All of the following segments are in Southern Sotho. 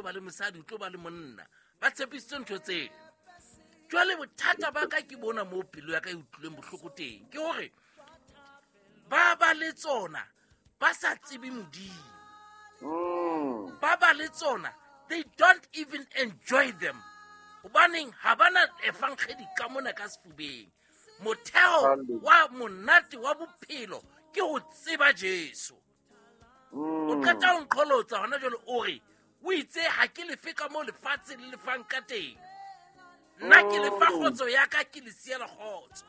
ba le mosadi, o tlo ba le monna. Ba tshepisitse ntho tseo. Jwale bothata ba ka ke bona moo pelo ya ka e utlwileng bohloko teng, ke hore ba ba le tsona ba sa tsebe Modimo. Ba ba le tsona, they don't even enjoy them. Hobaneng ha bana efankgedi ka mona ka sefubeng. Motheo wa monate wa bophelo ke ho tseba Jesu. O qeta ho nqholotsa hona jwale, o re o itse ha ke lefe ka moo lefatshe le lefang ka teng. Nna ke lefa kgotso ya ka, ke le siela kgotso.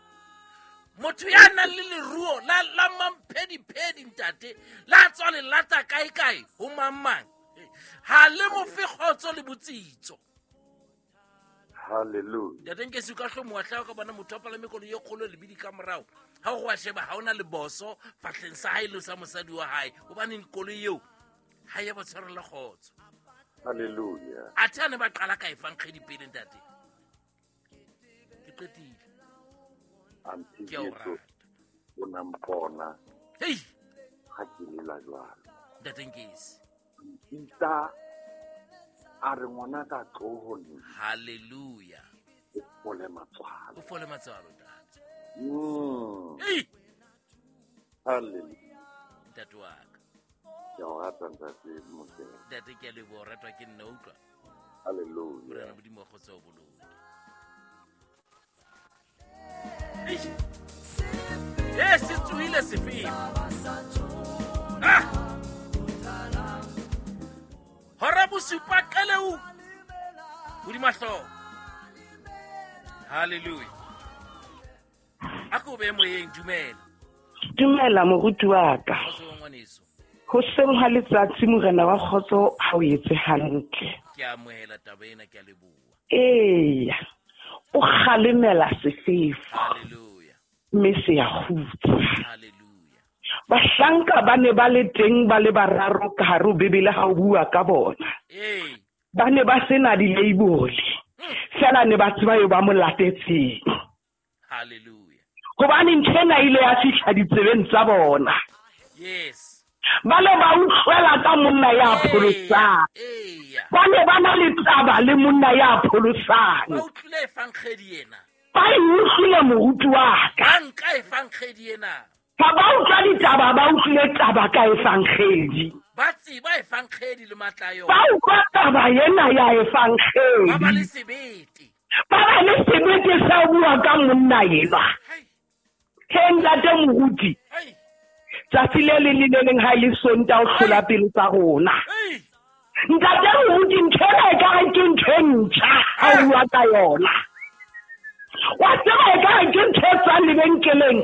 Motho ya nang le leruo la mamphediphedi ntate, la tswa lelata kae-kae ho mang-mang, ha le mo fe kgotso le botsitso. Hallelujah. Ntate Nkesi, o ka hlomoha hlao ka bona motho a palame koloi e kgolo lebidi ka morao. Ha o wa sheba, ha ona leboso fahleng sa hae le sa mosadi wa hae, hobane koloi eo ha ya ba tshwarela kgotso. Hallelujah. Athe a ne ba qala ka efankgedi pele ntate. Ke qetile. Auntie Ke a o Jesu, rata. o na mpona. Hei! Ha ke lela jwalo. Ntate Nkesi. Mpitsa a re ngwana ka tlo ho nna. Hallelujah. O fole matswalo. O fole matswalo, ntate. Hei! Hallelujah. Ntate wa ka. Ke a o rata, ntate Mokete. Ntate, ke a leboha, o ratwa ke nna, utlwa. Hallelujah. Morena Modimo wa kgotso o boloke. Se tsohile sefefo. Hora bosupa qeleu hodima hlooho. Hallelujah. A ko be moyeng, dumela. Dumela moruti wa ka. Kgotso wa ngwaneso. Hoseng ha letsatsi morena wa kgotso ha o etse hantle. Ke amohela taba ena, ke a leboha. Eya. O kgalemela sefefo. Hallelujah. Mme se a kgutsa. Hallelujah. Bahlanka ba ne ba le teng ba le bararo ka hare ho Bibele ha o bua ka bona. Ba ne ba sena di-label. Feela ne ba tseba eo ba mo latetseng. Hallelujah. Hobane ntho ena ile ya fihla ditsebeng tsa bona. Yes. Ba ne ba utlwela ka monna ya pholosang. Ba ne ba na le taba le monna ya pholosang. Ba utlwile efankgedi ena. Ba e utlwile moruti wa ka. Ba nka efankgedi ena. Ha ba utlwa ditaba, ba utlwile taba ka efankgedi. Ba tseba efankgedi le matla a yona. Ba utlwa taba ena ya efankgedi. Ba ba le sebete. Ba ba le sebete sa ho bua ka monna enwa. He ntate moruti. Tsatsi le leng le le leng ha e le Sontaha o hlola pelo tsa rona. Ntate moruti, ntho ena ekare ke ntho e ntjha ha o bua ka yona. Wa tseba ekare ke ntho e tswang lebenkeleng.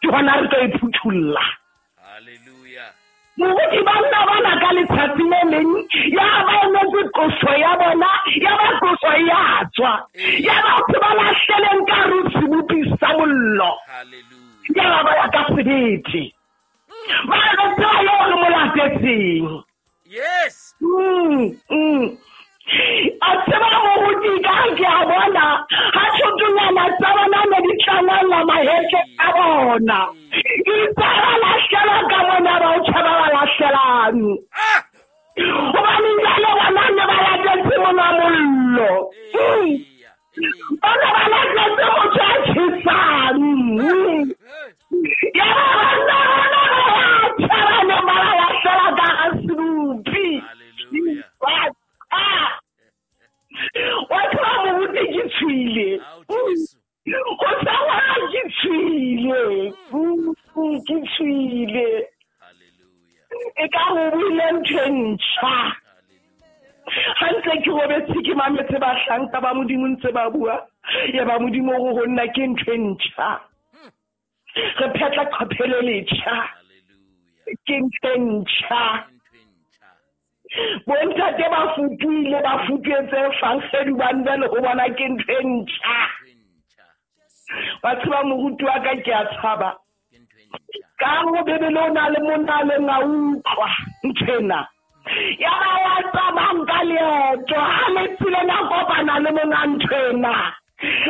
Ke hona re tlo e phuthulla. Hallelujah. Moruti, banna bana ka letsatsi le leng, ya ba emetse qoso ya bona, ya ba qoso ya tswa. Ya ba batho ba lahleleng ka hare ho sebopi sa mollo. Hallelujah. Ya ba ba ya ka sebete. Ba re tseba eo re mo latetseng. Yes. A tseba moruti ka ke a bona, ha thotonyana tsa bona ne di tlangwella mahetleng a bona. Itse ba lahlela ka mona ba o tjhaba ba lahlelang. Hobane jwale bona ne ba latetse mona mollo. Ba ne ba latetse motho a tjhesang. Ya ba banna bona ba ya tjhaba ne ba ba lahlela ka hara sebopi. Hallelujah. Wa tseba moruti ke tshwile. O tseba ke tshwile. Ke tshwile. Hallelujah. E ka re o buile ntho e ntjha. Ha ntse ke robetse ke mametse bahlanka ba Modimo ntse ba bua, ya ba Modimo o re ho nna ke ntho e ntjha. Re phetla qhaphe le letjha. Hallelujah. Ke ntho e ntjha. Ntho e ntjha. Bontate ba futuhile, ba futuhetse efankgedi hobane jwale ho bona ke ntho e ntjha. Ntho e ntjha. Wa tseba moruti wa ka ke a tshaba. Ke ntho e ntjha. Ka ho Bibele o na le monna a leng a utlwa ntho ena. Ya ba wa tsamayang ka leeto, ha le tseleng a kopana le monga ntho ena.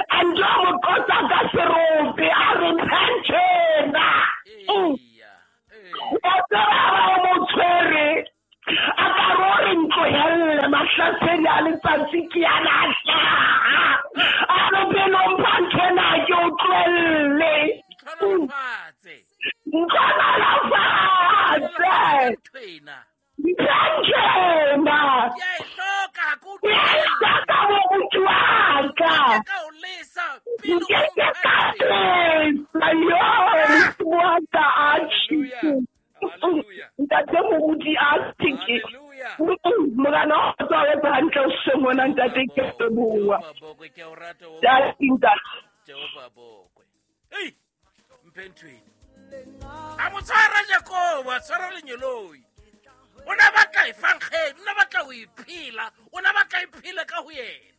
A ntho a mo qotsa ka serope, a re mphe ntho ena. Eya. O tseba ba o mo tshwere. A ka re o re ntlohelle, masedi a letsatsi ke yana a hlaha. A re pele o mpha nthwena ke o tlohelle. Ntlhonolofatse. Ntlhonolofatse. Nthwena. Nthwena. Ke a e hloka, ha ke o Ke a e hloka moruti wa ka. Ke ka o lesa pele o Ke ke ka mpha lesa, yo, moruti wa ka, atjhe. Hallelujah. Hallelujah. Ntate moruti a tjhe. Hallelujah. Morena o tswa o etsa hantle hoseng hona, ntate, ke a leboha. Jehova bokwe, ke a o rata, o Ntate, ntate. Jehova bokwe. Ei, mphe nthwena. A mo tshwara Jakobo, a tshwara lenyeloi. O na batla efankgedi, o na batla ho e phela, o na batla e phele ka ho yena.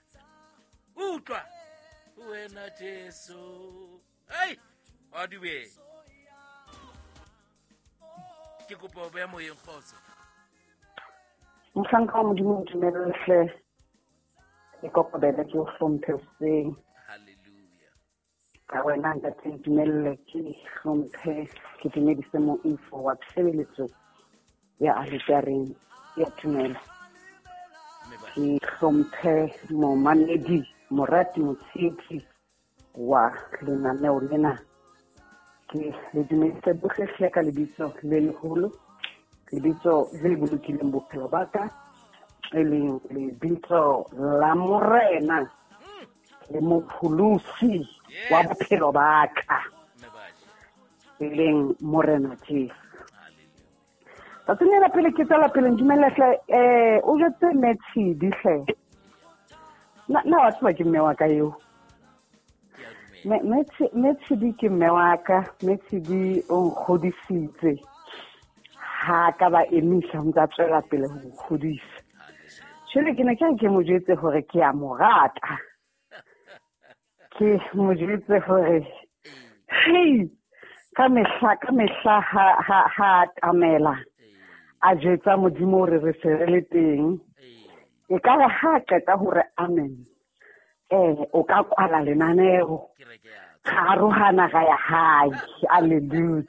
Utlwa. Wena Jesu. Ei, wa dumela. Ke kopa ho beha moyeng kgotso. Mohlanka wa Modimo, o dumelle hle. Ke kokobele, ke o hlomphe hoseng. Hallelujah. Ka wena ntate, ntumelle ke hlomphe, ke dumedise moifo wa tshebeletso ya aletareng ya tumelo. Mme ba- Ke hlomphe momamedi, morati, motshehetsi wa lenaneo lena. Ke le dumedise bohle hle ka lebitso le leholo, lebitso le bolokileng bophelo ba ka, e leng lebitso la Morena le Mopholosi wa Yes. bophelo ba ka, Mme ba je. e leng Morena Jesu. Hallelujah. Tsatsing lena pele ke tswela pele, ntumelle hle, o jwetse mme Tshidi hle. Na wa tseba ke mme wa ka eo? Ke a dumela. Mme Tshidi ke mme wa ka, mme Tshidi o nkgodisitse. Ha ka ba emisa, o ntse a tswela pele ho nkgodisa. Jwale ke ne ke re ke mo jwetse hore ke a mo rata. Ke mo jwetse hore, hei, ka mehla, ka mehla ha a atamela, a jwetsa Modimo hore re se re le teng. E ka re ha a qeta hore amen, o ka kwala lenaneo. Kereke ya tswa. Ra arohana ra ya hae. Hallelujah.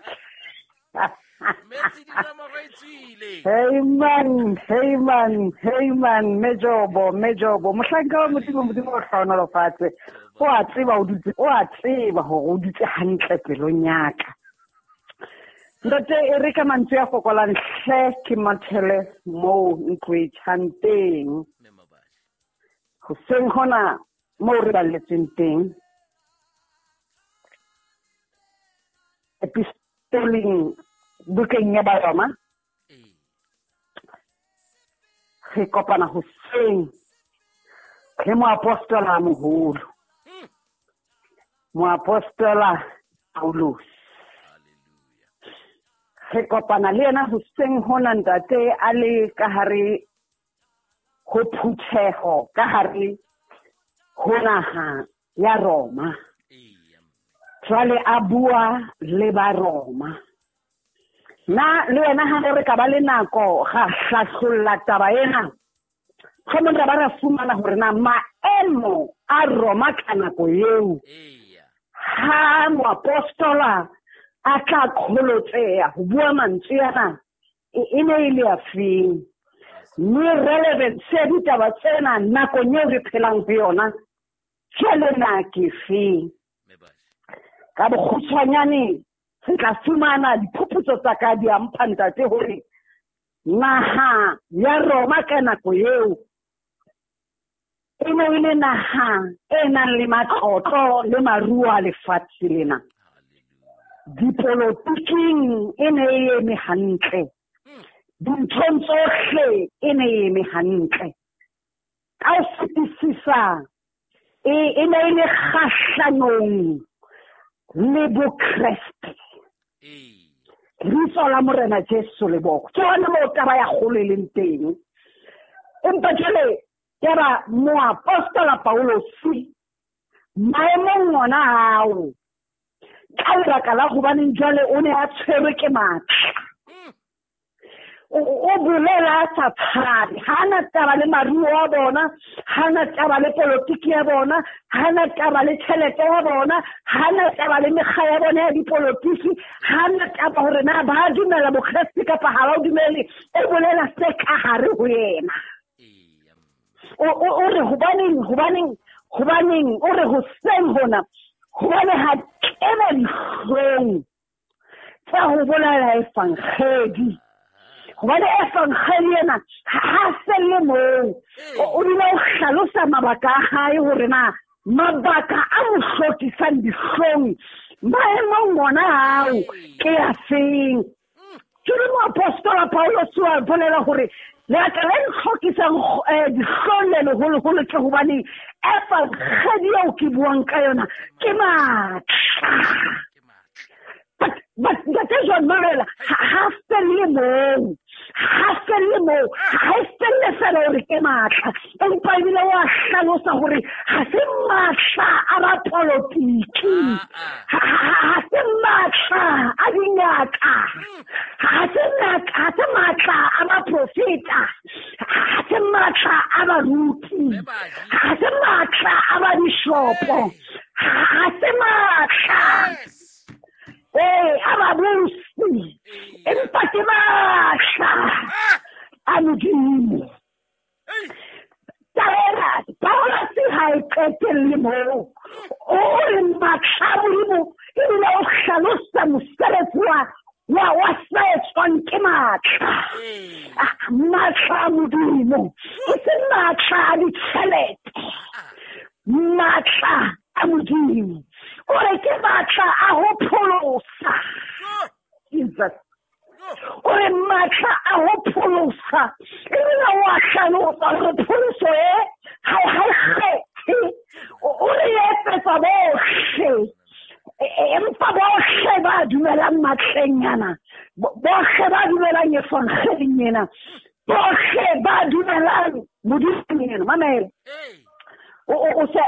Metsi dinomoro e tswile. Hey man, hey man, hey man, Mejobo, Mejobo. Mohlanka wa Modimo, Modimo o hlohonolofatse. O a tseba o dutse, o a tseba hore o dutse hantle pelong ya ka. Ntate, e re ka mantswe a fokolang hle ke mathele moo ntlo e tjhang teng. Mme Mabashe. Hoseng hona moo re balletsweng teng. Epistoleng bukeng ya Baroma. Ee. Re kopana hoseng le moapostola a moholo. Moapostola Paulus. Hallelujah. Re kopana le yena hoseng hona ntate a le ka hare ho phutheho, ka hare ho naha ya Roma. Eya. Jwale a bua le ba Roma. Na le wena ha re ka ba le nako ga hlahlolla taba ena, mohlomong ra ba ra fumana hore na maemo a Roma ka nako eo, Eya. ha moapostola a tla kgolotseha ho bua mantswe ana, e ne e le a feng? Mme relevance ya ditaba tsena nakong eo re phelang ho yona, jwale na ke feng? Mme Bashe. Ka bokgutshwanyane re tla fumana diphuputso tsa ka di a mpha ntate hore naha ya Roma ka nako eo e ne e le naha e nang le matlotlo le maruo a lefatshe lena. Hallelujah. Dipolotiking e ne e eme hantle. Dinthong tsohle e ne e eme hantle. Ka ho fetisisa, e ne e le kgahlanong le Bokreste. Ee. Lebitso la Morena Jesu le boko. Ke hona moo taba ya kgolo e leng teng. Empa jwale ya ba moapostola Paulus maemong ona ao, ka lebaka la hobaneng jwale o ne a tshwerwe ke matla. O bolela a sa tshabe, ha na taba le maruo a bona, ha na taba le politiki ya bona, ha na taba le tjhelete ya bona, ha na taba le mekga ya bona ya dipolotiki, ha na taba hore na ba dumela Bokreste kapa ha ba o dumele, o bolela se ka hare ho yena. Eya. O re hobaneng o re hoseng hona hobane ha kena dihlong tsa ho bolela evangeli. Hobane evangeli ena ha felle moo. O bile o hlalosa mabaka a hae hore na mabaka a mo hlokisang dihlong maemong ona ao ke a feng. Jwale moapostola Paulus wa bolela hore lebaka le ntlhokisang dihlong le leholoholo ke hobane evangeli eo ke buang ka yona ke matla. But Ntate John Mamela ha felle moo. Ha felle moo. Ha e felle fela hore ke matla. Empa ebile wa hlalosa hore ha se matla a bapolotiki. Ha se matla a dingaka. Ha se matla a baprofeta. Ha se matla a baruti. Ha se matla a babishopo. Ha se matla. A babusi. Empa ke matla a Modimo. Taba Paulus ha e qetelle moo. O re matla a Modimo ebile o hlalosa mosebetsi wa se etswang ke matla. Matla a Modimo e se matla a ditjhelete. Matla a Modimo. O re ke matla a ho pholosa. Jesus. O re matla a ho pholosa. Ebile wa hlalosa hore pholoso e ha e kgethe. O re etsetsa bohle. Empa bohle ba dumelang matleng ana. Bohle ba dumelang evangeling ena. Bohle ba dumelang Modimong ena. Mamela. O se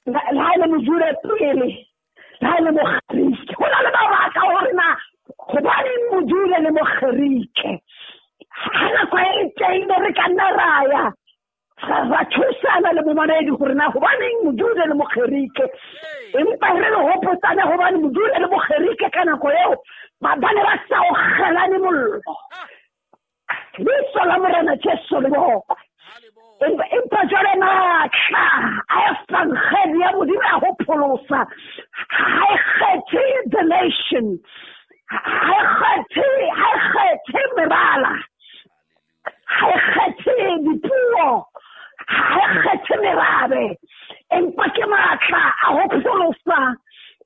le ha e le Mojuda pele, le ha e le Mogerike. Ho na le mabaka hore na hobaneng Mojuda le Mogerike. Ha nako e teng be re ka nna ra ya ra thusana le momamedi hore na hobaneng Mojuda le Mogerike. Empa re le hopotsane hobane Mojuda le Mogerike ka nako eo ba ne ba sa okgelane mollo. Lebitso la Morena Jesu le bokwe. Empa jwale matla a evangeli ya Modimo ya ho pholosa ha e kgethe the nation, ha e kgethe mebala, ha e kgethe dipuo, ha e kgethe merabe. Empa ke matla a ho pholosa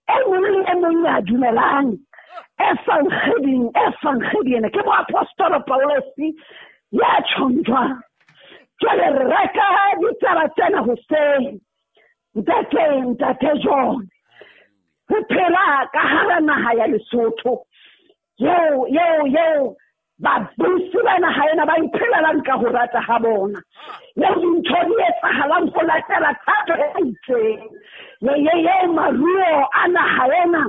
e mong le e mong ya dumelang evangeling. Evangeli ena ke moapostola Paulus ya tjhong jwang. Jwale re reka ditaba tsena hoseng. Ntate John. Re phela ka hara naha ya Lesotho. Yeo babusi ba naha ena ba iphelelang ka ho rata ha bona. Yeo dintho di etsahalang ho latela thato e itseng. Yeo maruo a naha ena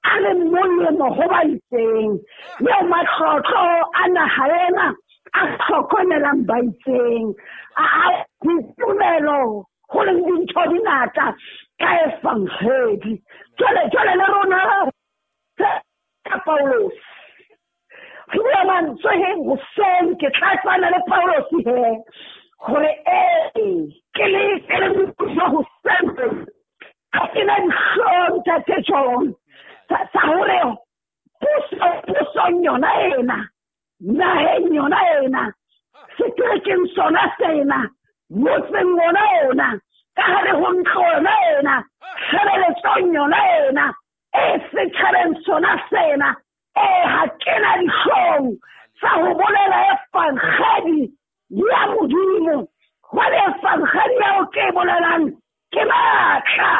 a le molemo ho ba itseng. Yeo matlotlo a naha ena a hlokomelang ba itseng. A ditumelo ho leng dintho di ngata ka evangeli. Jwale le rona ka Paulus. Re bua mantswe he hoseng ke tlatsana le Paulus he hore ke le motho hoseng ha ke na dihlong Ntate John tsa hore pusong yona ena, naheng yona ena, seterekeng sona sena, motseng ona ona, ka hare ho ntlo yona ena, tshebeletsong yona ena, e setjhabeng sona sena, ha ke na dihlong tsa ho bolela evangeli ya Modimo. Hobane evangeli eo ke e bolelang ke matla.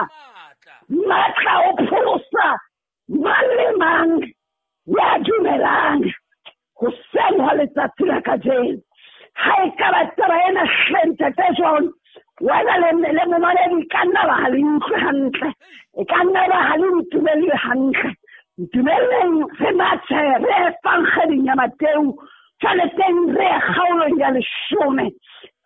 Matla o pholosa mang le mang ya dumelang. Hoseng hwa letsatsi la kajeno. Ha e ka ba taba ena hle Ntate John, wena le momamedi e ka nna ba ha le utlwe hantle. E ka nna ba ha le ntumelle hantle. Ntumelleng re mathe re evangeling ya Mateu. Jwale teng re kgaolong ya 10.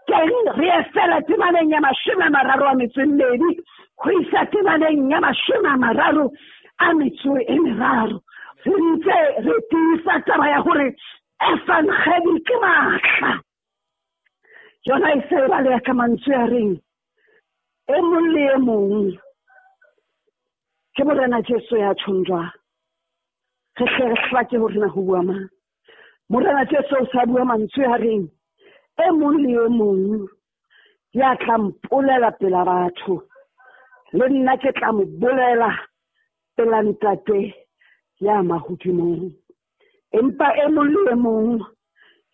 Teng re fela temaneng ya 32 ho isa temaneng ya 33. Re ntse re tiisa taba ya hore evangeli ke matla. Yona e se e baleha ka mantswe a reng e mong le e mong ke Morena Jesu ya tjhong jwang. Re hle re hlake hore na ho bua mang. Morena Jesu o sa bua mantswe a reng e mong le e mong ya tla mpolela pela batho, le nna ke tla mo bolela pela Ntate ya mahodimong. Empa e mong le e mong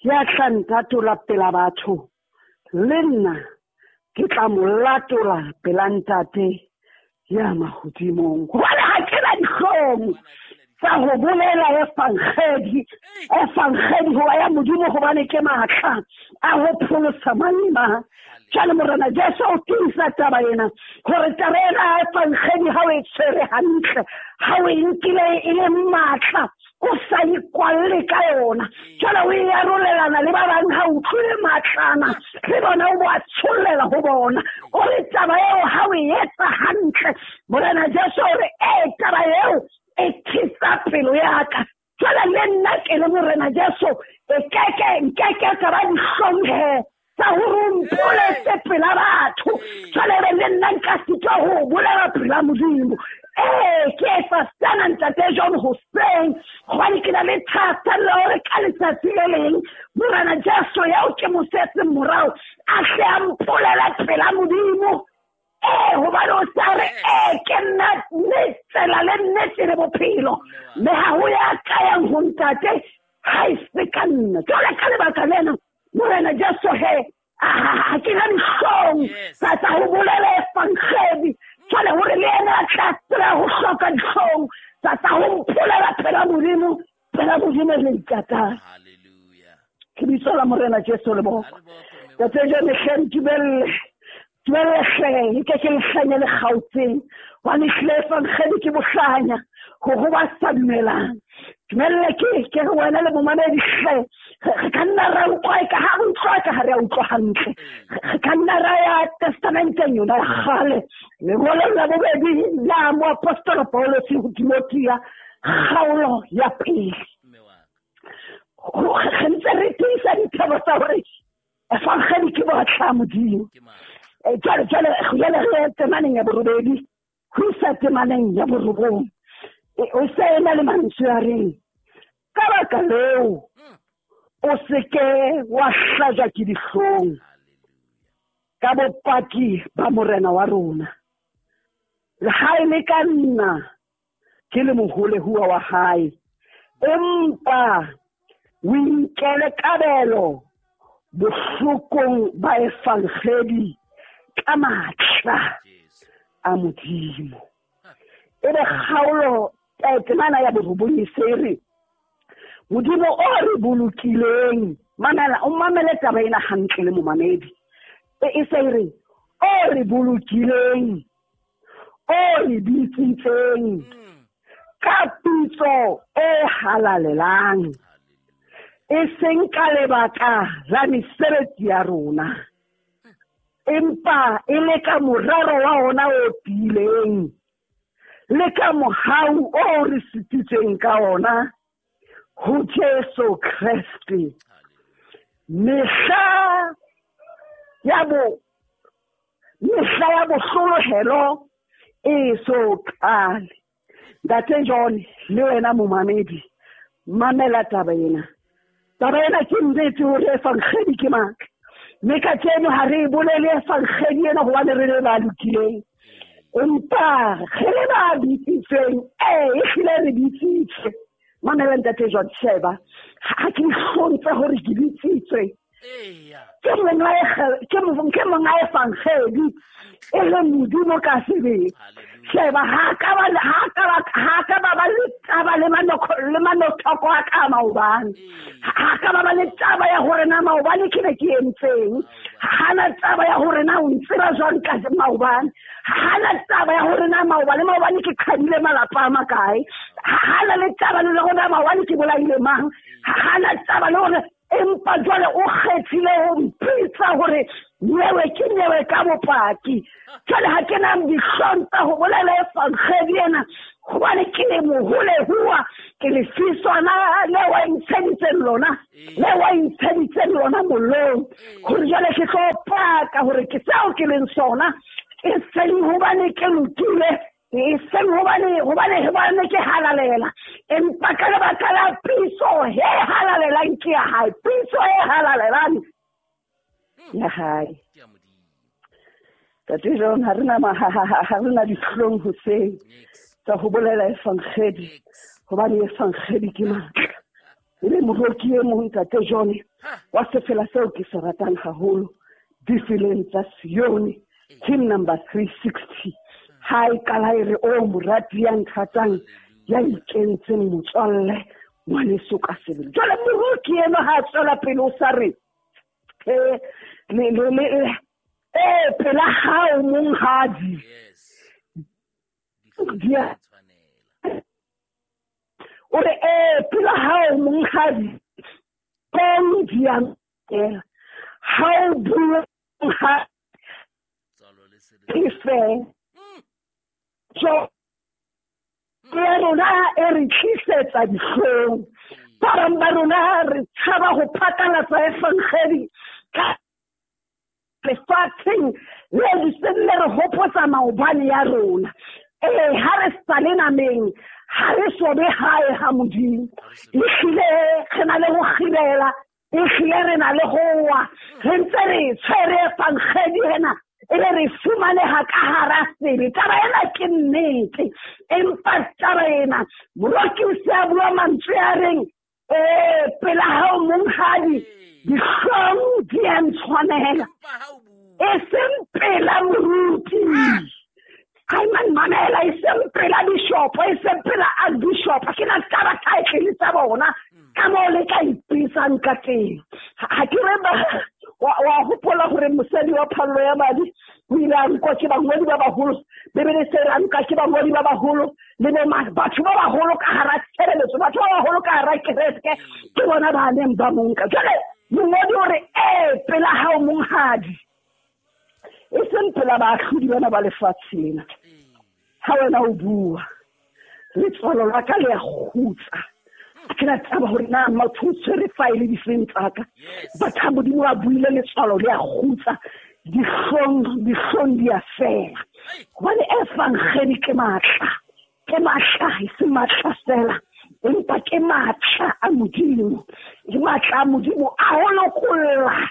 ya tla ntatola pela batho, le nna ke tla mo latola pela Ntate ya mahodimong. Hobane ha ke na dihlong tsa ho bolela evangedi, evangedi hoba ya Modimo, hobane ke matla a ho pholosa mang le mang. Jwale Morena Jesu o tiisa taba ena, hore taba ena ya evangedi ha o e tshwere hantle, ha o e nkile e le matla, o sa ikwalle ka yona, jwale o e arolelana le ba bang, ha o utlwile matlana le bona o bo a tshollela ho bona. O re taba eo ha o e etsa hantle, Morena Jesu o re ee, taba eo e thisa pelo ya ka. Jwale le nna ke le Morena Jesu, e keke nkeke ka ba dihlong he tsa hore o mpoletse pela batho. Jwale be le nna nka sitwa ho bolela pela Modimo. Ee, ke etsa sena Ntate John hoseng, hobane ke na le thahasello ya hore ka letsatsi le leng Morena Jesu eo ke mo setseng morao a hle a mpolele pela Modimo. Ee, hobane o sa re ee, ke nna mme tsela le nnete le bophelo, mme ha ho ya ka yang ho Ntate ha e se ka nna. Jwale ka lebaka lena Morena Jesu he, ha ke na dihlong tsa ho bolela evangedi. Jwale hore le yena a tla tseba ho hloka dihlong tsa ho mpolela pela Modimo, pela Modimo le Ntat'ae. Ke bitso la Morena Jesu le boko. Ntate John, hle ntumelle, dumelle hle, nke ke lehlanya le kgaotseng, hobane hlile evangedi ke bohlanya ho ho ba sa dumelang. Dumelle ke re wena le momamedi hle, re ka nna ra utlwa e ka ha re utlwa ka ha re a utlwa hantle. Re ka nna ra ya testamenteng yona ya kgale, lengolong la bobedi la moapostola Paulus ho Timothea, kgaolo ya pele. Re ntse re tiisa dithebo tsa hore evangedi ke botlha Modimo. Jwale jwale re temaneng ya borobedi ho isa temaneng ya borobong. O se ena le mantswe a reng, ka baka leo o se ke wa hlajwa ke dihlong ka bopaki ba Morena wa rona, le ha e le ka nna ke le moholehuwa wa hae, empa o inkele kabelo bohlokong ba evangedi ka matla a Modimo. Ebe kgaolo temana ya borobong e se re Modimo o re bolokileng. Mamela, o mamele taba ena hantle le momamedi. E se re o re bolokileng, o re bitsitseng ka pitso e halalelang, e seng ka lebaka la mesebetsi ya rona, empa e le ka morero wa ona o tiileng, le ka mohau o re sititseng ka ona ho Jesu Kreste. Mehla ya bohlolohelo e so qale. Ntate John le wena momamedi, mamela taba ena. Taba ena ke nnete hore evangedi ke matla, mme kajeno ha re e bolele evangedi ena hobane re le ba lokileng, empa re le ba bitsitsweng. Ee, ehlile re bitsitswe. Mamela Ntate John, sheba, ha ke dihlong tsa hore ke bitsitswe. Ke monga evangedi e le Modimo ka sebele. Sheba, ha ka ba le taba le manothoko a ka maobane. Ha ka ba le taba ya hore na maobane ke ne ke entseng. Ha na taba ya hore na o ntseba jwang ka maobane. Ha na taba ya hore na maobane ke qhadile malapa a makae. Ha na le taba le hore na maobane ke bolaile mang. Ha na taba le hore, empa jwale o kgethile ho mpitsa hore nyewe ke nyewe ka bopaki. Jwale ha ke na dihlong tsa ho bolela evangedi ena, hobane ke le moholehuwa Ke lefiswana le wa ntsheditseng lona, le wa ntsheditseng lona mollong, gore jwale ke tlo paka gore ke seo ke leng sona, e seng hobane ke lokile, e seng hobane ke halalela, empa ka lebaka la pitso e halalelang ke ya hae, pitso e halalelang ya hae. Tate John, ha rena dihlong hoseng tsa ho bolela evangeli, hobane evangeli ke matla. Ebe moroki e mong Tate John wa sefela seo ke se ratang haholo, Difeleng tsa Sione, hymn number 360. Ha e qala e re, o morati ya nthatang, ya ikentseng motswalle, ngwaneso ka sebele. Jwale moroki eno ha a tswela pele o sa re, pela hao monghadi. O re, pela hao monghadi, kong di a nkela. Ha o bua monghadi, ke fe. So, ya rona e re tlisetsa dihlong. Ba bang ba rona re tshaba ho phatlalatsa evangeli ka lefatsheng le seng le re hopotsa maobane ya rona. Ha re sa le nameng, ha re so be hae ha Modimo. Ehlile re na le ho kgibela, ehlile re na le ho wa, re ntse re tshwere evangeli ena, e be re fumaneha ka hara sebe. Taba ena ke nnete, empa taba ena moroki o se a bua mantswe a reng, pela hao monghadi, dihlong di a ntshwanela, e seng pela moruti. Hai man mamela, e seng pela bishop, e seng pela archbishop. Ke na taba title tsa bona ka moo le ka ipisang ka teng. Ha ke re wa hopola hore mosadi wa phallo ya madi o ile a nkwa ke bangodi ba baholo. Bibele se re a nka ke bangodi ba baholo le bo batho ba baholo ka hara tshebeletso, batho ba baholo ka hara kereke, ke bona ba neng ba mo nka. Jwale mongodi o re, pela hao monghadi, e seng pela baahlodi bana ba lefatshe lena. Ha wena o bua, letswalo la ka le a kgutsa. Ke na taba hore na motho o tshwere file difeng tsa ka. Batho ha Modimo a buile, letswalo le a kgutsa, dihlong di a fela. Hobane evangeli ke matla, ke matla, e se matla fela, empa ke matla a Modimo. Ke matla a Modimo a ho lokolla,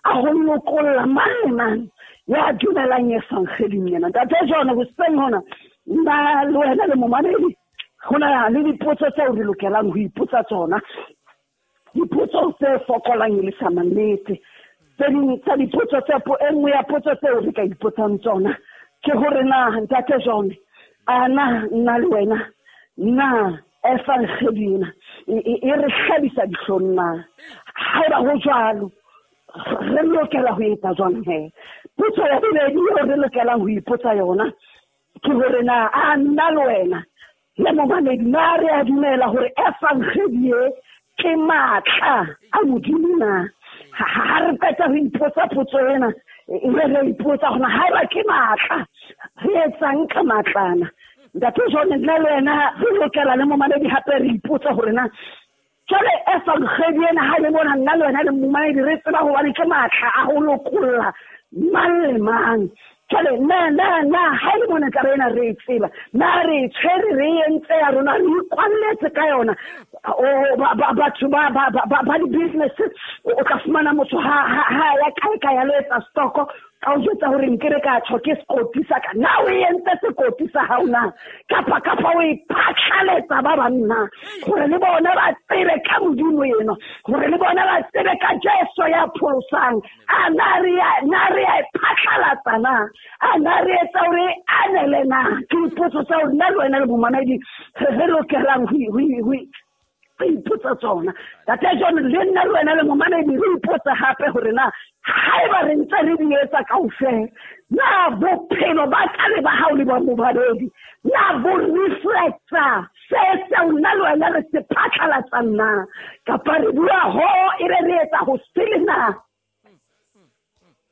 a ho lokolla mang le mang ya dumelang evangeling ena. Ntate John, hoseng hona nna le wena le momamedi, ho na le dipotso tseo re lokelang ho ipotsa tsona, dipotso tse fokolang e le sa mannete. Tse ding tsa dipotso tse e nngwe ya potso tseo re ka ipotsang tsona ke hore na Ntate John, a na nna le wena na evangeli ena e re hlabisa dihlong na? Haeba ho jwalo, re lokela ho etsa jwang he? Potso ya bobedi eo re lokelang ho ipotsa yona ke hore na a nna le wena le momamedi na re a dumela hore evangeli e ke matla a Modimo na? Ha re qeta ho ipotsa potso ena, e be re ipotsa hore haeba ke matla, re etsang ka matlana? Ntate John, nna le wena re lokela le momamedi hape re ipotsa hore na jwale evangeli ena ha le mona nna le wena le momamedi re tseba hobane ke matla a ho lokolla mang le mang. Jwale na ha e le mona taba ena re e tseba, na re tshwere re entse ya rona, re ikwalletse ka yona. Batho ba di-business, o tla fumana motho ha ya kae ka ya lo etsa stoko, ka o jwetsa hore nkebe ka tjho ke sekoti sa ka. Na o entse sekoti sa hao na? Kapa o e phatlaletsa ba bang na? Hore le bona ba tsebe ka Modimo eno, hore le bona ba tsebe ka Jesu ya pholosang. A na re a e phatlalatsa na? A na re etsa hore anele na? Ke dipotso tsa hore nna le wena le momamedi re lokelang ho ipotsa tsona. Ntate John, le nna le wena le momamedi re ipotsa hape hore na haeba re ntse re di etsa kaofela, na bophelo ba ka le ba hao le ba momamedi na bo reflecta se seo nna le wena re se phatlalatsang na? Kapa re bua ho e be re etsa ho sele na?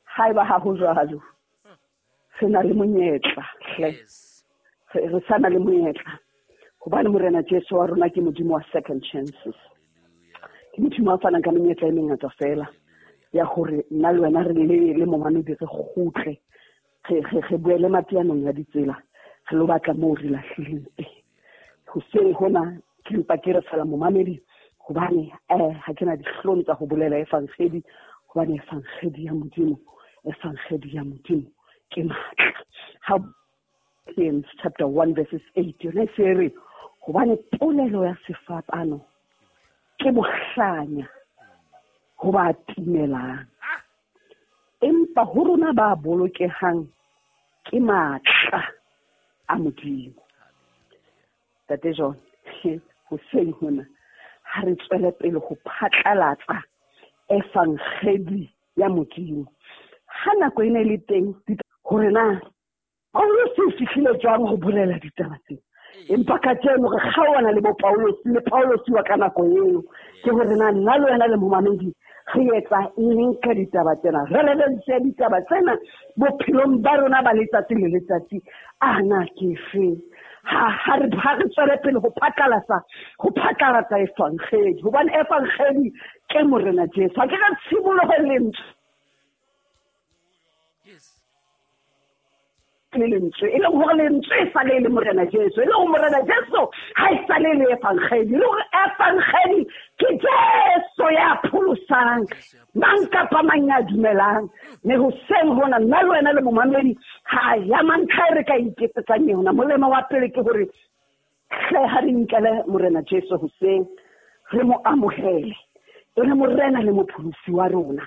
Haeba ha ho jwalo, re na le monyetla hle, re sa na le monyetla Hobane Morena Jesu wa rona ke Modimo wa second chances. Ke Modimo wa fanang ka menyetla e mengata fela ya hore nna le wena re le momamedi re kgutle, re boele mateanong ya ditsela, re lo batla moo re lahlileng teng. Hoseng hona ke mpa ke re fela momamedi, hobane ha ke na dihlong tsa ho bolela evangeli, hobane evangeli ya Modimo, evangeli ya Modimo ke matla. Ha James chapter 1 verses 8 yona e se re, hobane polelo ya sefapano ke bohlanya ho ba timelang, empa ho rona ba bolokehang ke matla a Modimo. Ntate John, hoseng hona ha re tswele pele ho phatlalatsa evangeli ya Modimo. Ha nako e ne le teng hore na Paulus o fihlile jwang ho bolela ditaba tsena, empa kajeno re kgaohana le bo Paulus le Paulus wa ka nako eo. Ke hore na nna le wena le momamedi re etsa eng ka ditaba tsena, relevance ya ditaba tsena bophelong ba rona ba letsatsi le letsatsi a na ke fe. Ha re tswele pele ho phatlalatsa evangeli, hobane evangeli ke Morena Jesu. Ha ke ka tshimoloho lentswe le lentswe, e leng hore lentswe e sale le Morena Jesu, e leng hore Morena Jesu ha e sale le evangeli, e leng hore evangeli ke Jesu ya pholosang mang kapa mang ya dumelang. Mme hoseng hona nna le wena le momamedi ha ya mantlha e re ka iketsetsang yona. Molemo wa pele ke hore hle ha re nkele Morena Jesu hoseng, re mo amohele e le Morena le mopholosi wa rona.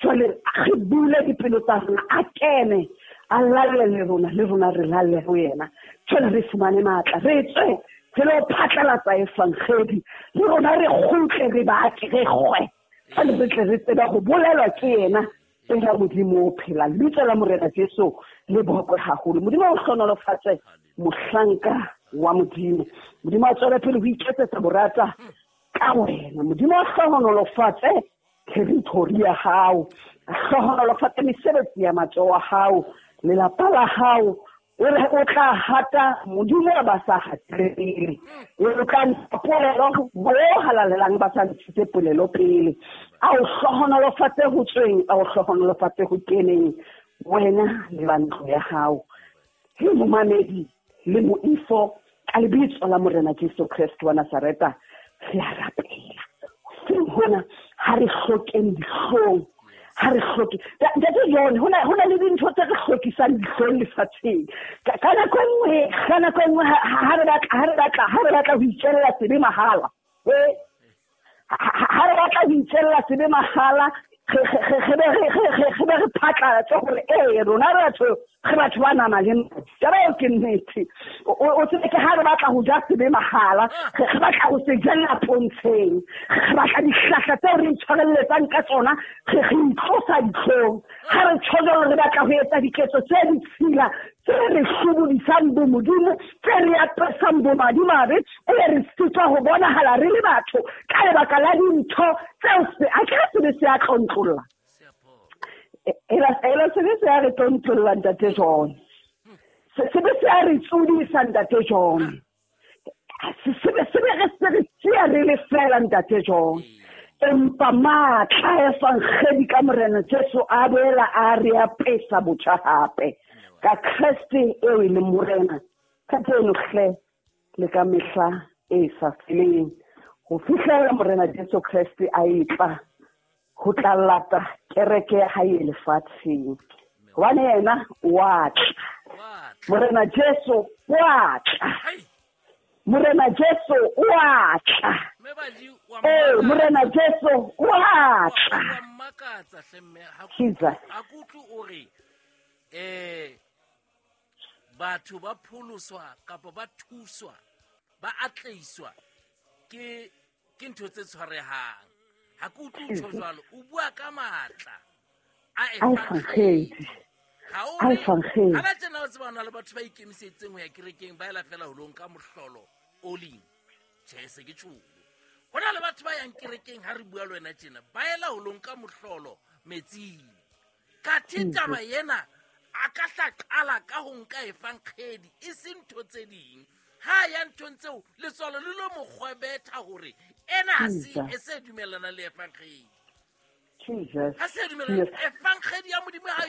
Jwale re bule dipelo tsa rona, a kene a lalle le rona, le rona re lalle ho yena. Jwale re fumane matla, re tswe re lo phatlalatsa evangeli, le rona re kgutle, re batle, re kgwe, jwale re tle re tsebe ho bolelwa ke yena pela Modimo o phelang. Lebitso la Morena Jesu le bokwe haholo. Modimo o hlohonolofatse mohlanka wa Modimo. Modimo a tswele pele ho iketsetsa borata ka wena. Modimo o hlohonolofatse territory ya hao, a hlohonolofatse mesebetsi ya matsoho a hao, lelapa la hao. O tla hata Modimo ba sa hatile pele, o tla ntsha polelo bo halalelang ba sa ntshitse polelo pele. A o hlohonolofatse ho tsweng, a o hlohonolofatse ho keneng, wena le ba ntlo ya hao. He momamedi le moifo, ka lebitso la Morena Jesu Kreste wa Nazareta re a rapela. Hoseng hona ha re hlokeng dihlong, ha re hloke Ntate John, ho na le dintho tse re hlokisang dihlong lefatsheng. Ka nako e nngwe ha re batla ho itjella sebe mahala, ha re batla ho itjella sebe mahala, re be re phatlalatse hore ee rona re batho ba nama le madi. Taba eo ke nnete. O tsebe ke ha re batla ho ja sebe mahala, re batla ho se jella pontsheng, re batla dihlahla tseo re itshwarelletsang ka tsona, re itlosa dihlong. Ha re tjho jwalo, re batla ho etsa diketso tse ditshila tse re hlobodisang bo Modimo, tse re apesang bo madimabe, e re sitwa ho bonahala re le batho ka lebaka la dintho tseo a ke re sebe se a tlontlolla. Ela sebe se a re tlontlolla Ntate John. Sebe se a re tsodisa Ntate John. Sebe re se re siya re le fela Ntate John. Empa matla evangeli ka Morena Jesu a boela a re apesa botjha hape ka Kreste eo e leng Morena kajeno hle le ka mehla e sa feleng, ho fihlela Morena Jesu Kreste a etla ho tla lata kereke ya hae lefatsheng. Hobane yena wa tla, Morena Jesu wa tla, Morena Jesu wa tla, Morena Jesu wa tla. Jesus. A kutlwe o re batho ba pholoswa kapa ba thuswa, ba atleiswa ke ntho tse tshwarehang. Ha ke utlwe o tjho jwalo, o bua ka matla a evangeli. Ha ba tjena o tseba hona le batho ba ikemisetseng ho ya kerekeng, ba ela fela holong ka mohlolo o leng. Tjhe, se ke tjholo. Ho na le batho ba yang kerekeng ha re bua le wena tjena, ba ela holong ka mohlolo metsing. Kathe taba ena a ka hla qala ka ho nka evangeli, e se ntho tse ding. Ha a ya nthong tseo, letswalo le lo mo kgwebetha hore ena ha se Jesus. e se dumellana le evangeli. Jesus. Ha se dumellana. Evangeli ya Modimo ha e